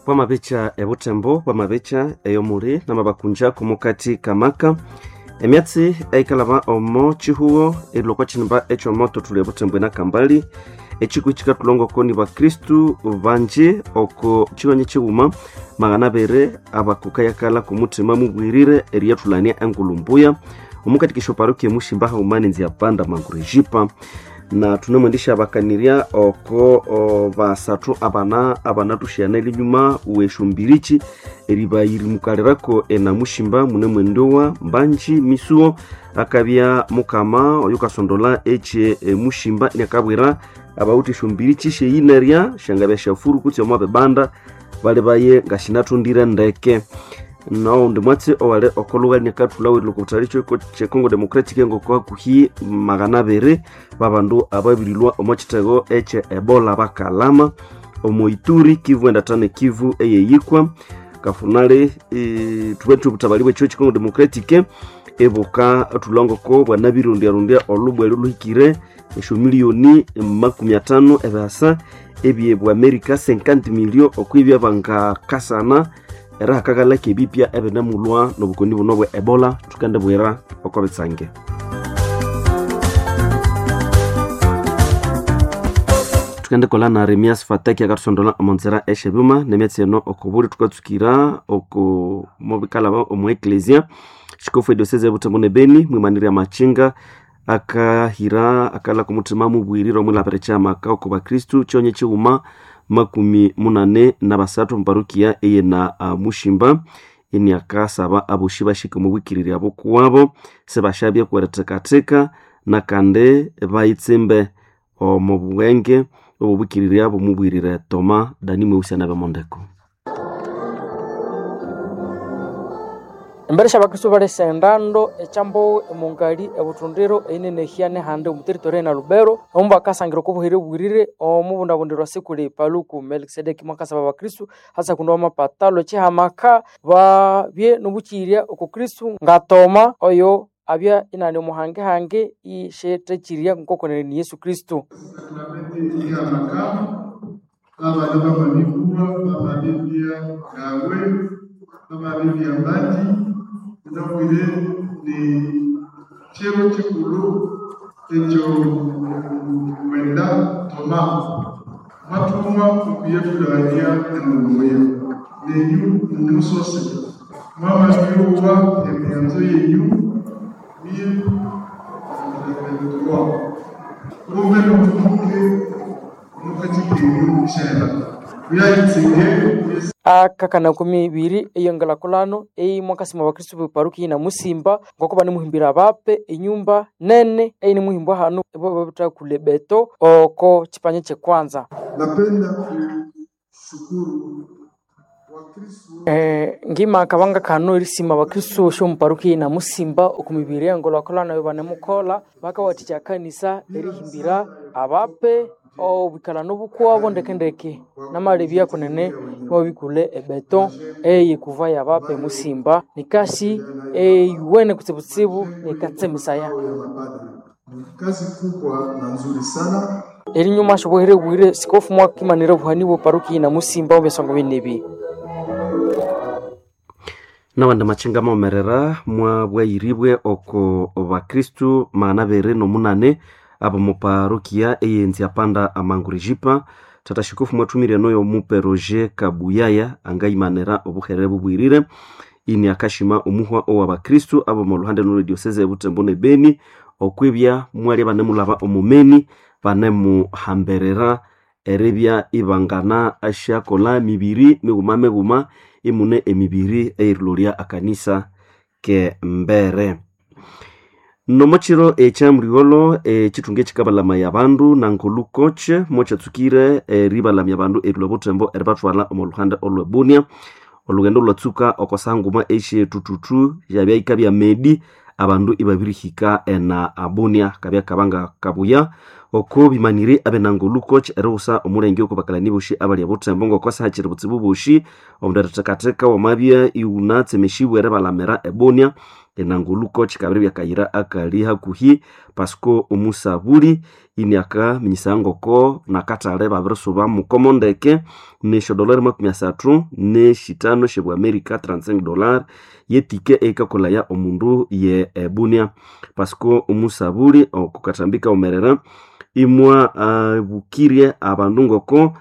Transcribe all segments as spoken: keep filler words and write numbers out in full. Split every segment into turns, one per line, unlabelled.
Bwamabica ebutembo bwamabica eyomuli namabakunja kumukati kamaka emyatsi eikalaba omo chihuo erilwa chinimba echomoto tuli ebutembo enakambali echikwi chikatulongoko ni bakristu banji oko chihonyi chighuma magana abiri abakukayakala kumuthima mubwirire eriyathulania engulumbuya omukatikisha parokia emushimba haghuma nenzia panda mangurejipa na tunemwendisha bakanirya oko o, basathu abana abanathushiyana elinyuma weshumbirichi eribayirimukalirako enamushimba munemwendowa mbanji misuo akabya mukama oyo kasondola eche emushimba iniakabwira abawuthi eshumbirichi sheyinerya shangabya shafuru kutse omo bibanda bali baye ngashinathundire ndeke naundi mwatsi owali okolugha nikathulawirile okubutali che Congo Democratic ngoko hakuhi magana abiri babandu ababirilwa omo chitego eche Ebola bakalama omo Ituri Kivu endatane Kivu eyeyikwa kafunali e, thubethu obutabali bwekyo che Congo Democratic ebuka thulangoko bwanabirundyarundya olubwele luhikire esyo miliyoni makumi atano ebihasa ebye bwa America cinquante million okwibya bangakasana era hakakalaka ebipya ebinemulwa nobukoni buno bwe Ebola thukendibwira oko bitsange. Tukendikolha na Remias Fataki akathusondola omonzira esyebyuma nemyatsi eno okobuli thukatsukira oko mobikalaba omu eklesia xikofu ediosese ebutembo ne Beni mwimanirya machinga akahira akalha kumuthima mubwirire omwilhabira kyamaka oko bakristu kyonye kighuma makumi munane na basathu muparukia eyena uh, mushimba iniakasaba aboshi bashike omubwikirirya bukuwabo sibashabye kwerithekatheka nakandi bayitsimbe omu bwenge obubwikirirya bumubwirire Toma Dani Mweusi anabemondeko.
Embere syabakristu balesa endando ekyambowe emungali ebuthundiro einenehya nehandi omu territory ena Lubero omu bakasangira okobuhere bwirire omubundabundirwa sikuli Paluku Melkisedeki mwakasaba abakristu hasa kundi bamapatalo ekihamaka babye nobukyirya oku Kristu ngatoma oyo abya inani omuhangehange ishethekyirya nkokonene ni Yesu Kristu.
Abana bamabibulwa bamabibya gawe bamabibya mbandi ndabwire ni chiro chikulu ekyo mwenda Toma mwatumwa okuyetulania engulumbuya nenyu mumusose mwamabiuwa emiyanzo yenyu mille vingt-trois kumbe nomuke mukatikenyu shela kuyayitsinge
akakana kumi ibiri eyongelakulano eimwakasima abakristu beparuki na musimba ngoko banemuhimbira abape enyumba nene einimuhimbwa hanu babitha kule beto oko chipanya chekwanza.
Napenda kushukuru
Eh, ngima akabanga kano erisima abakristu shomuparuki na musimba okumibiri engolwakolano eyo banemukola bakawathikya kanisa erihimbira abape obwikalano bukuwabo ndekendeke namalebya kunene mobikule ebeto eyikuva yabape musimba nikasi eyuwene kutsibutsibu nikatsemisaya
kazi kubwa na nzuri sana.
Erinyuma shobuhere bwire sikofu mwakimanira obuhani bwe paruki na musimba obyasongo binebi.
Nawandi machinga mawomerera mwabwayiribwe oko bakristu magana abiri nomunane abo muparokia eyenzi panda amangurijipa tata shikofu mwathumire noyo mupe Roger Kabuyaya angayimanira obuherere bubwirire ini akashima omuhwa owa bakristu abo muluhande nolwe dioseze ebutembo ne Beni okwibya mwali banemulaba omumeni banemuhamberera eribya ibangana asyakola mibiri mighuma mighuma imune emibiri eyirilolya akanisa ke mbere. Nomokiro ekyamuligholo ekithunga ekikabalamaya abandu nankulu koche mokyatsukire eribalamya abandu erilwa butembo eribathwalha omo luhande olwe Bunia. Olugendo lwatsuka okosanguma esyetututu yabya yikabya medi abandu ibabirihika ena Bunia kabya kabanga kabuya oko bimanire abenangulu koch eriwusa omulenge oko bakalani boshi abali ebutembo ngokosa hakiri butsibu boshi omundu erithekatheka wamabya iwunatsemesibwe eribalamira ebunia Enanguluko chikabiri byakayira akali hakuhi Pasco omusabuli iniaka minyisa ngoko nakatale babirisuba mukomo ndeke nesho dolari makumi asathu neshitano shebwa Amerika trente-cinq dollars yetike eikakolaya omundu ye ebunia. Pasco omusabuli okukatambika omerera imwa abukirie abandu ngoko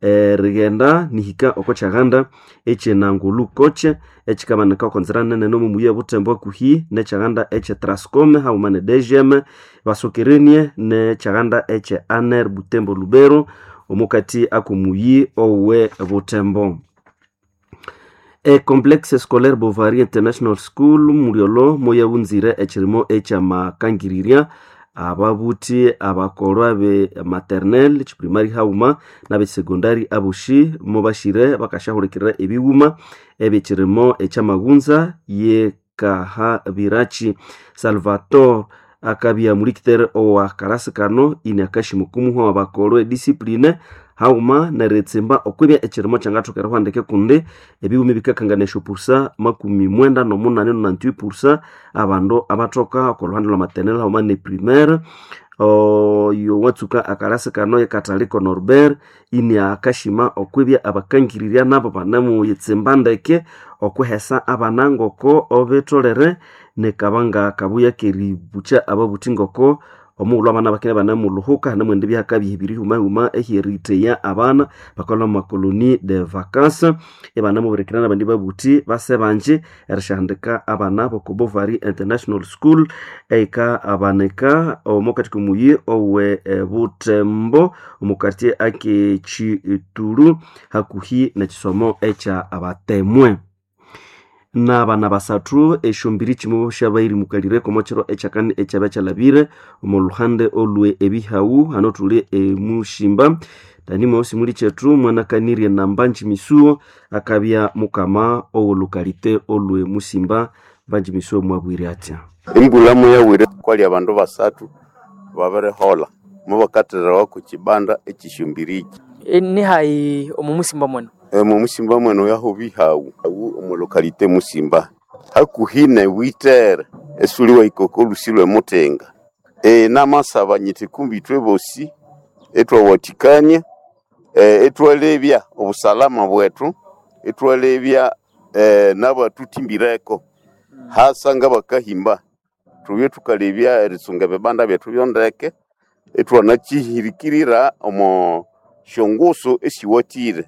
erighenda nihika oko kyaganda ekyenangulukoche ekikabanika oko nzira nene nomu muyi obutembo hakuhi nekyaganda ekye Trascom haghuma ne D G M basokerenie nekyaganda ekye A N E R Butembo Lubero omukati akomuyi owe Butembo. E Complexe Scolaire Bovary International School mulyolo moyawunzire ekirimo ekyamakangirirya ababuthi abakolwa be maternelle chiprimary hauma n'abesecondary aboshi mobashire bakashahulikirira ebighuma ebyekirimo ekyamaghunza yekahabirachi. Salvatore akabya mulikitere owa karasi kano ini akashimukumuhwa wabakolwa ediscipline hauma neritsimba okwibya ekirimo kyangathoka erihwandike kundi ebighuma ebikakanganisya pusa makumi mwenda nomunani nonante-huit pusa abandu abathoka oko lhuhande lwa maternelle hauma ne primaire. Oyo watsuka akarasi kano yekataliko Norbert ini akashima okwibya abakangirirya nabo banemuyitsimba ndeke okwihesa abana ngoko obitholere nekabanga kabuya keribukya ababuthi ngoko omughulhu abana bakine banemuluhuka hanemwendi byakabya ebirihumahuma ehyeritheya abana bakalhwa mu makoloni de vacances ibanemubirikira nabandi babuthi base banji erisyahandika abana boko Bovary International School eika abanika omukati komuyi owe Butembo omu quartier ake Chitulu hakuhi nekisomo ekya abatemwe. N'abana basathu esyombiri kimwe syabairimukalire omo kiro ekyakani ekyabya kyalabire omu luhande olwe ebihawu hano thuli emushimba Dani simuli kyethu mwanakanirye Nambanji Misuo akabya mukama owolukalite olwe musimba. Mbanji Misuo mwabwire atya?
Embula muyawire kwali abandu basathu babirihola mubakatherawa ku kibanda ekisyombiriki.
E, nihayi omu musimba mwenu?
Omu musimba mwenu yaho bihawu awu omu lokalite musimba hakuhi ne witere esuli waikoko olusi lwe mutenga. E, namasaba nyiti kumbi ithwe bosi ithwawathikania e, ithwalebya obusalama bwethu ithwalebya e, nabatuthimbireko hasa ngabakahimba thubye thukalebya erisunga ebibanda byethu byondeke ithwanakyihirikirira omo syongusu esiwathire.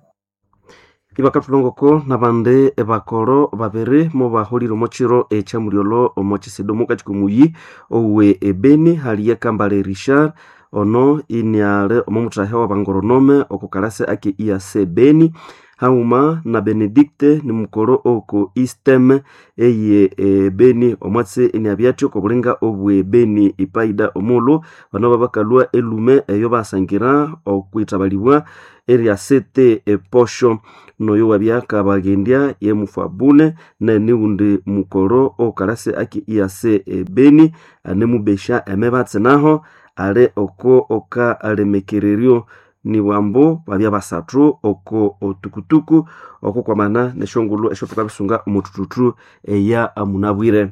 Ibakathulongoko nabandi bakoro babiri mubaholire omo kiro ekyamulyolho omo kisido mukati komuyi owe ebeni hali Kambale Richard ono iniale omo muthahe w'abangoronome oko kalasi ake I A C Beni haghuma na Benedicte ni mukoro oko Istem eye Beni omwatsi iniabya oko bulinga obwe Beni ipaida omulhu bano babakalhwa elume eyo basangira okwithabalibwa erya sete eposho noyo wabya kabagendya ye mufabune neniwundi mukoro okalasi ake I A C Beni anemubesha emebatsi naho ali oko oka alemekereryo nibwambu babya basathu oko otukutuku oko kwamana nesyongulhu esyotukabisunga omuthuthu eya amunabwire.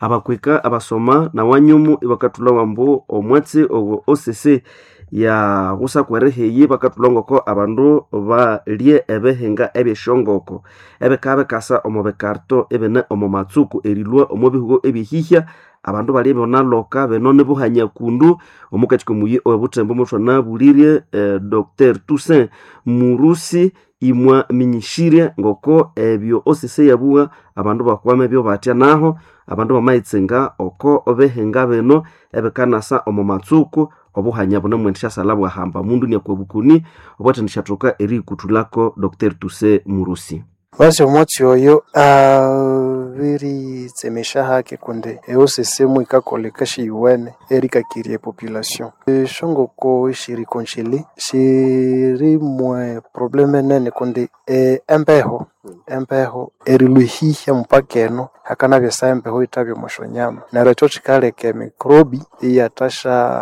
Abakwika abasoma nawanyumu ibakathulha wambu omwatsi owo O C C ya busaku erihiyi bakathulha ngoko abandu balye ebihinga ebyesyongoko ebikabya bikasa omo bikarto ebine omo matsuku erilhwa omo bihugo ebyehihya abandu balye ibonaloka bino nibuhanya kundu omukati komuyi owebuthembo muthwanabulirye eh, Doctor Toussaint Murusi imwa minyishirye ngoko ebyo O C C yabuwa abandu bakwame ebyo batya naho abandu bamayitsinga oko bihinga bino ebikanasa omo matsuku obuhanya bunemwendesyasalha bwahamba mundu niakwa bukoni obwathendishathoka eriyikuthulako Doctor Toussaint Murusi.
Basi omwatsi oyo abiritsemesha hake kundi e O C C mwikakoleka shiyuwene erikakirya epopulation. Esyongoko eshiri congelé shirimwe probleme enene kundi e, embeho embeho erilhuhihya mupaka eno hakanabya esaha embeho yithabya omo syonyama neryo ekyo kikaleka emikrobi iyathasya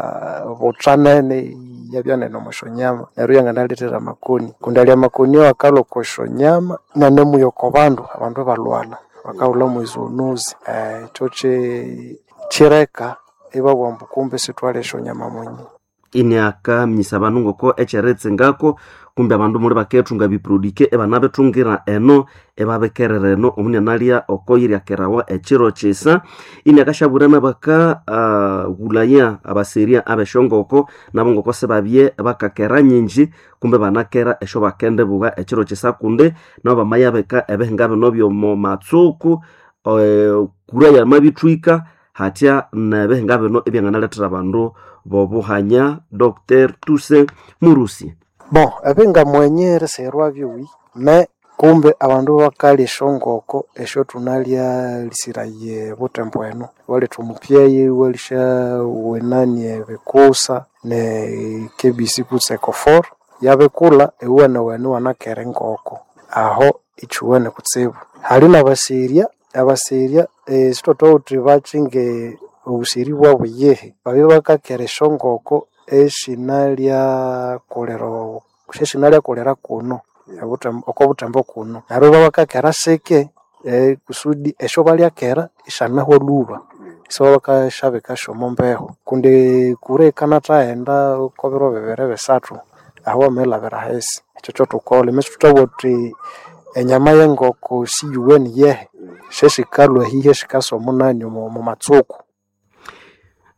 butha nene iyabya nene omo syonyama neryo iyanganalethera amakoni kundi alya amakoni awakalhwa oko syonyama nanemuya oko bandu abandu ibalhwalha. Bakahulha mwezoonozi ekyo kyi kyireka ibabugha ambu kumbe isithwalya esyonyama munye.
Iniaka minyisa abandu ngoko ekyeritsingako kumbe abandu muli bakethunga biprodike ebanabithungira eno ebabikerera eno omunianalya oko yiryakerawa ekiro kisa. Iniakashabwira nabaka uh, ghulaya abaserya abeshongoko nabo ngoko sibabye bakakera nyingi kumbe banakera esyo bakendibugha ekiro kisa kundi nabo bamayabika ebihinga bino byomo matsuku eh, kura yamabithwika hatya nebihinga bino ebyanganalethera abandu bobuhanya. Doctor Tuse Murusi.
Bon, ebinga mwenye erisigherwa byuwi me kumbe abandu bakalya esyongoko esyo thunalya lisiraye butembo eno. Iwaletha omupyeyi iwalisya wenani ebikusa ne K B C kutse ecofor yabikulha iwuwenewene iwanakera engoko aho ikyuwene kutsibu. Hali nabaserya, abaserya eh, sithwathuwa bakyinge obuseri bwabu yihi babya bakakera esyongoko esinalyakolera esyasinalyakolera kuno obuthembo oko buthembo kuno neryo ibabakakera sike eh, kusudi esyo balyakera isyanahwa lhuba isibabakashabika syomo mbeho kundi kura ikanathaghenda oko biro bibiri bisathu aho wamaghilhabira ahisi. Ekyo kyothukolha ime sithuthabugha thuthi enyama yengoko siyuwene yehe syesikalhwa ehihe sikasa omunani omo matsuku.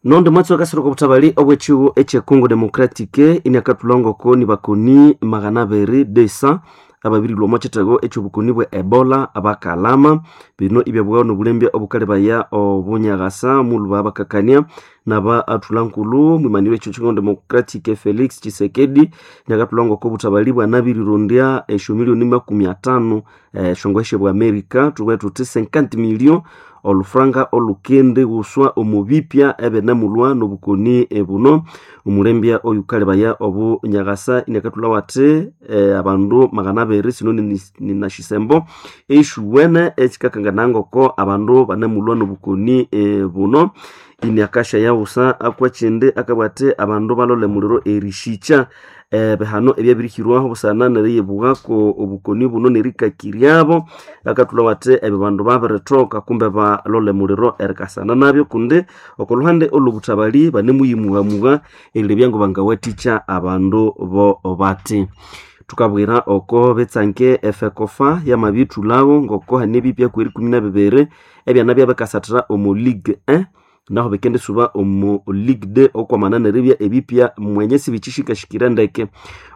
Nondi mwatsi wakasira obutabali obw'ekigo ekye Congo Democratique iniakathulha ngoko nibakoni magana abiri desa ababirilwa omo kithego eky'obukoni bwe Ebola abakalama. Bino ibyabughawa n'obulembya obukalebaya obunyaghasa mulhuba bakakania naba athulha nkulhu mwimaniro ekyo Congo Democratique Felix Tshisekedi iniakathulha ngoko obutabali bwanabirirondya esyo milioni makumi atano esyongo esyebwa America thubughe thuthi cinquante millions olufranga olukende ghuswa omu bipya ebinemulhwa n'obukoni buno. Omulembya oyukalebaya obunyaghasa iniakathulha athi eh, abandu magana abiri sino ninashisembo eshuwene ekikakangana ngoko abandu banemulhwa n'obukoni eh, buno. Iniakasha yaghusa akwekindi akabugha athi abandu balole muliro erishikya ebihano ebyabirihirwaho busana neriyibwako obukoni buno nerikakiryabo. Akathulha athi ebyo bandu babirithoka kumbe balole muliro erikasana nabyo kundi oko luhande olw'obuthabali banemuyimughamugha erilebya ngo bangawathikya abandu bo bati. Thukabwira oko bitsange efekofa yamabithulhawo ngoko hane ebipya kweri ikumi na bibiri ebyana byabikasathira omu Ligue un naho bikendisuba omu Ligue deux okwamana neribya ebipya mwenye sibikyishikashikire ndeke.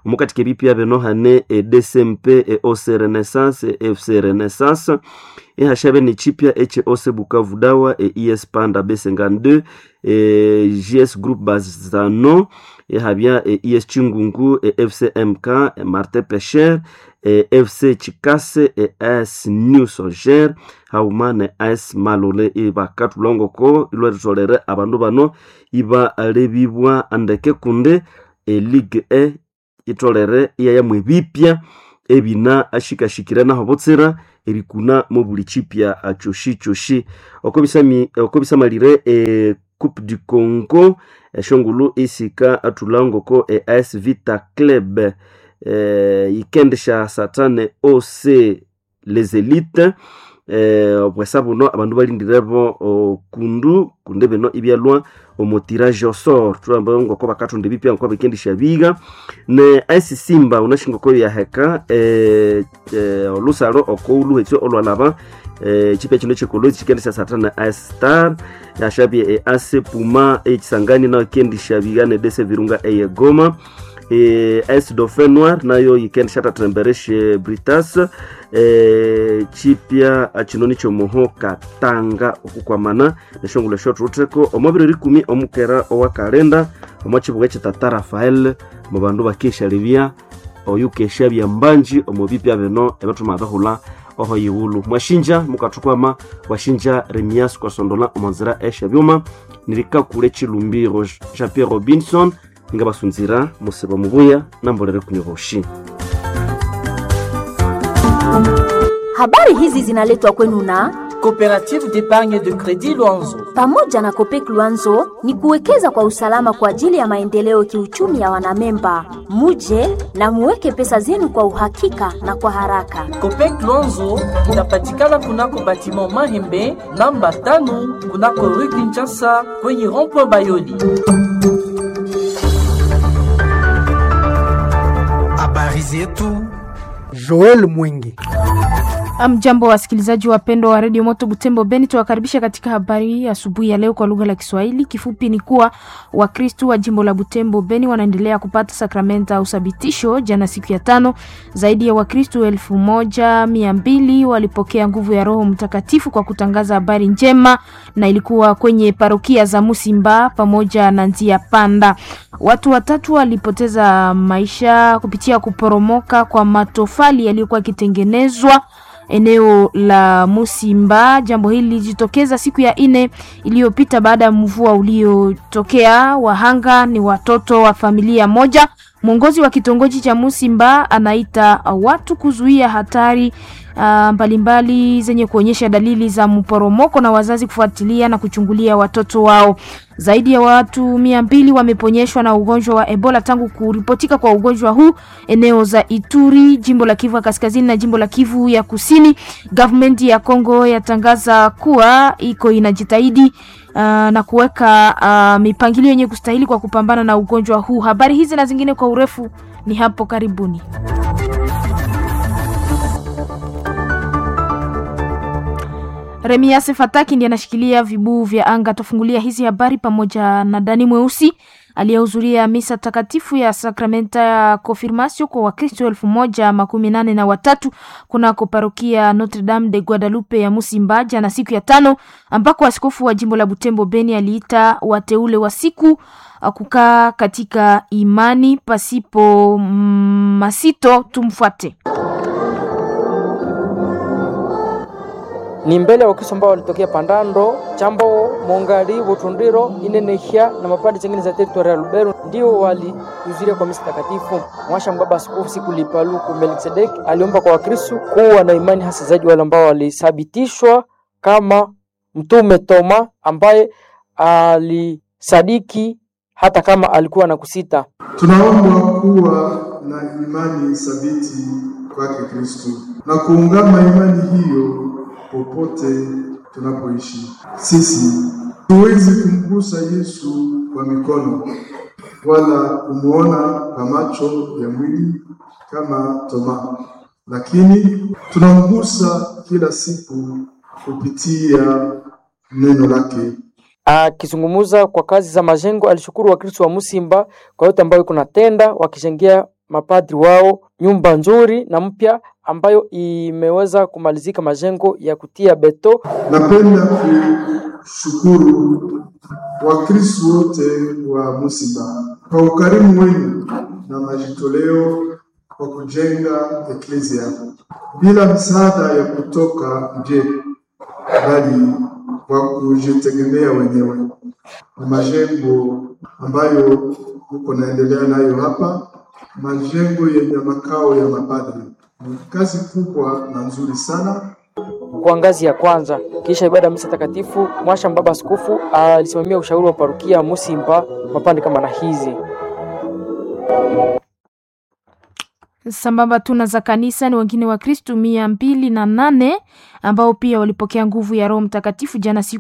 Omukathika ebipya bino hane e D C M P, e O C Renaissance, e F C Renaissance, ihashabe nekyipya ekye O C Bukavu Dawa, e I S Panda B cinquante-deux, e J S Group Bazano, ihabya e I S Chingungu, e F C M K, e Martin Pesher, e F C Chikase, e S New Soldier, hauma ne S Malole. Ibakathulha ngoko ilwaritholere abandu bano ibalebibwa ndeke kundi e Ligue E itholere iyayamu ebipya ebina ashikashikire naho butsira erikuna mo buli kipya kyoshi kyoshi. Oko bisamalire e Coupe du Congo eshongulu isika athulha ngoko e A S Vita Club eh, yikendisha satane O C Les Elites eh, obwesa buno abandu balindirebo kundu kundi bino ibyalwa omu tirage au sort. Thulamba ngoko bakathunda ebipya ngoko bikendisha biga ne A S Simba unashingoko yaheka eh, eh, olusalo okouluhetso olwalaba eh, chipya kino kyekolozi kikendisha satana A S Star yashabye e A C Puma ekisangani nayo ikendisha biga ne D C Virunga eye Goma e, A S Dauphin Noir nayo yikendisha tatembereshe Britas e, chipya kino nikyo muho katanga okukwamana neshongolo esyo thutheko omo biro ikumi omukera owa kalenda omo kibuga ekye Tata Rafael mu bandu bakeshalebya oyukesha byambanji omu bipya bino ebyathuma bihulha oho yighulhu. Mwashinja mukathukwama washinja Remias kwasondola omo nzira esyabyuma nirikakule Chilumbi Jean Pierre Robinson ngabasunzira musiba mubuya nambolere kunyoboshi.
Habari hizi zinaletwa kwenu na Coopérative d'épargne de crédit Luanzo.
Pamoja na Copec Luanzo ni kuwekeza kwa usalama kwa ajili ya maendeleo kiuchumi ya wanamemba. Muje na muweke pesa zenu kwa uhakika na kwa haraka.
Copec Luanzo inapatikana kunako batiment Mahembe namba tano kunako rue Kinshasa kwenye rond-point Bayoli.
Habari zetu Joel Mwingi.
Mjambo wasikilizaji wapendwa wa redio Moto Butembo Beni, tuwakaribisha katika habari asubuhi ya leo kwa lugha la Kiswahili. Kifupi ni kuwa Wakristu wa jimbo la Butembo Beni wanaendelea kupata sakramenta au sabitisho. Jana siku ya tano, zaidi ya Wakristu elfu moja mia mbili walipokea nguvu ya Roho Mtakatifu kwa kutangaza habari njema, na ilikuwa kwenye parokia za Musimba pamoja na Nzia Panda. Watu watatu walipoteza maisha kupitia kuporomoka kwa matofali yaliyokuwa yakitengenezwa eneo la Musimba. Jambo hili lilijitokeza siku ya nne iliyopita baada ya mvua uliotokea. Wahanga ni watoto wa familia moja. Mwongozi wa kitongoji cha Musimba anaita watu kuzuia hatari mbalimbali zenye kuonyesha dalili za mporomoko na wazazi kufuatilia na kuchungulia watoto wao. Zaidi ya watu mia mbili wameponyeshwa na ugonjwa wa Ebola tangu kuripotika kwa ugonjwa huu eneo za Ituri, jimbo la Kivu ya Kaskazini na jimbo la Kivu ya Kusini. Government ya Kongo yatangaza kuwa iko inajitahidi uh, na kuweka uh, mipangilio yenye kustahili kwa kupambana na ugonjwa huu. Habari hizi na zingine kwa urefu ni hapo karibuni. Remias Fataki ndiye anashikilia vibuu vya anga. Tufungulia hizi habari pamoja na Dani Mweusi aliyehudhuria misa takatifu ya sakramenta ya konfirmasio kwa Wakristo elfu moja makumi nane na watatu kunako parokia Notre Dame de Guadalupe ya Musimba jana siku ya tano, ambako askofu wa jimbo la Butembo Beni aliita wateule wa siku kukaa katika imani pasipo masito. Tumfuate.
Ni mbele ya Wakristo ambao walitokea Pandando, Chambo, Mongali, Butundiro, Inenehia na mapande zingine za teritoria ya Lubero ndio walihudhuria kwa misa takatifu. Mwasha Mbaba Askofu siku Lipaluku Melkisedek aliomba kwa Wakristo kuwa na imani hasa zaidi wale ambao walithibitishwa kama Mtume Toma ambaye alisadiki hata kama alikuwa na kusita.
Tunaombwa kuwa na imani thabiti kwake Kristo na kuungama imani hiyo popote tunapoishi. Sisi tuwezi kumgusa Yesu kwa mikono wala kumuona kwa macho ya mwili kama Toma, lakini tunamgusa kila siku kupitia neno lake.
Akizungumza kwa kazi za majengo, alishukuru Wakristo wa Musimba kwa yote ambayo kunatenda wakijengea mapadri wao nyumba nzuri na mpya ambayo imeweza kumalizika majengo ya kutia beto.
Napenda kushukuru Wakristo wote wa Musimba kwa ukarimu wenu na majitoleo kwa kujenga eklezia bila msaada ya kutoka nje, bali kwa kujitegemea wenyewe. Na majengo ambayo uko naendelea nayo hapa, majengo yenye makao ya mapadri, ni kazi kubwa na nzuri sana.
Kwa ngazi ya kwanza. Kisha ibada ya misa takatifu, Mwasha Mbaba Askofu alisimamia ushauri wa parokia Musimba mapande kama na hizi
sambamba tuna za kanisa ni wengine wa Kristu mia mbili na nane ambao pia walipokea nguvu ya Roho Mtakatifu jana siku